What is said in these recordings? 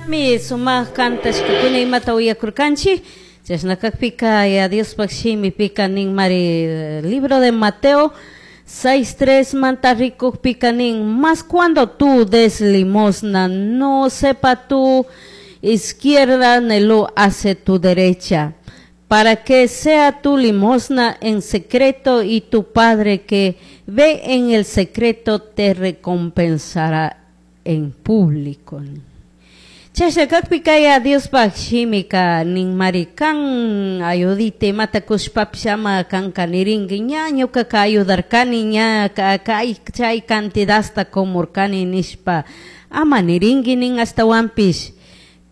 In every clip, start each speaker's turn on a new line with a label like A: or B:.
A: Mi sumaq kantashkakuna imata uyakurkanchik. Chashna kakpika ya Diospaq shimipika nin mari libro de Mateo 6:3 manta rikukpika nin mas cuando tú des limosna, no sepa tu izquierda ni lo hace tu derecha, para que sea tu limosna en secreto y tu Padre que ve en el secreto te recompensará en público. Chashna kakpika ya Diospaq shimika nin mari kan ayudita imata kushpapish ama kanka nirinki ña ñukaka ayudarkani, ña kay chay cantidadta kumurkani nishpa ama nirinki nin, ashtawanpish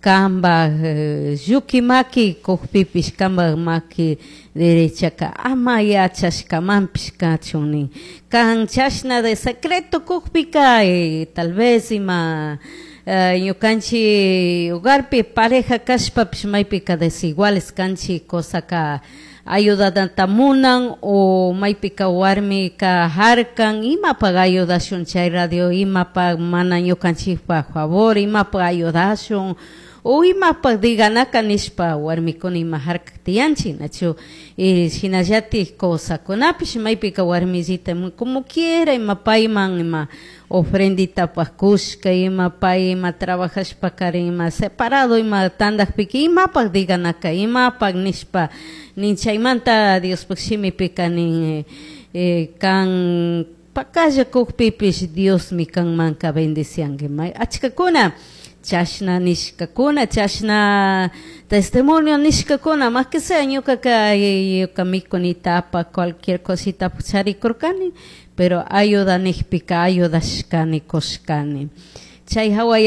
A: kambaj lluki maki kukpipish kambaj maki derechaka ama yachashkamanpish kachun nin. Kan chashna de secreto kukpika, tal vez ima ñukanchik hogarpi pareja kashpapish maypika desiguales kanchik, cosaka ayudadata munan o maypika warmika harkan imapaq ayudashun chay radio, imapaq mana ñukanchikpaq favor, imapaq ayudashun o imapaq diganaka nishpa warmikuna ima harkak tiyanchik, nachu? Y shinallatik cosakunapish maypika warmisita como quiera ima payman ima ofrenditapaq kushka, ima pay ima trabajashpakarin ima separado ima tandakpika imapaq diganaka imapaq nishpa nin. Chaymanta Diospaq shimipika nin, kan pakalla kukpipish Diosmi kanmanka bendicianki. May achkakuna chashna nishkakuna, chashna testimonio nishkakuna. Más que sea ñukaka ñuka mikunitapa cualquier cosita charikurkani, pero ayuda nijpika ayudashkani, kushkani. Chay hawa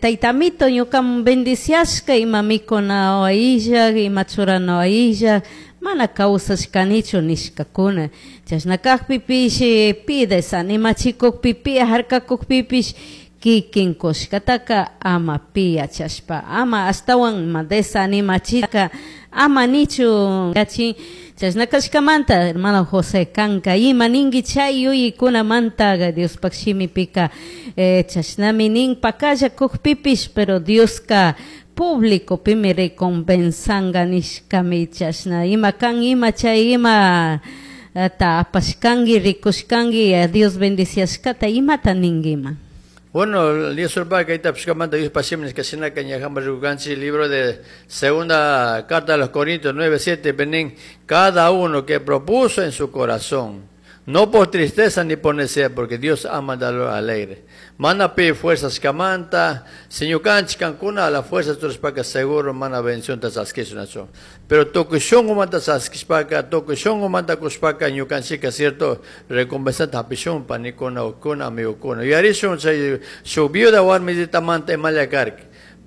A: taytamito ñukaman bendiciashka ima mikuna illak, ima churana illak mana kawsashkanichu nishkakuna. Chashna kakpipish pi desanimachikukpi, pi harkakukpipish kikin kushkataka ama pi yachashpa ama ashtawan ima desanimachika ama nichu yachin. Chashna kashkamanta, hermano José, kanka ima ninki chay yuyaykunamanta? Diospaq shimipika chashnami nin, pakalla kukpipish pero Dioska público pimi recompensanka nishkami. Chashna ima kan ima chay ima ta apashkanki, rikushkanki Dios bendiciashkata, imata ninkiman?
B: Bueno, el Dios kayta pishkamanta Dios pasimis que sina ñajamba rikukanchik libro de segunda carta a los Corintios 9:7 pi nin: cada uno que propuso en su corazón, no por tristeza ni por necesidad, porque Dios ama al alegre. Mana pi fuerzas kamanta, si ñukanchik kankuna a la fuerza churashpaka seguro mana bendición ta chaskishun. Pero tukuy shunqumanta chaskishpaka, tukuy shunqumanta kushpaka ñukanchika cierto recompensata hapishun panikuna, ukuna, amigokuna. Yuyarishun chay shuk viuda warmisitamanta imalla karka.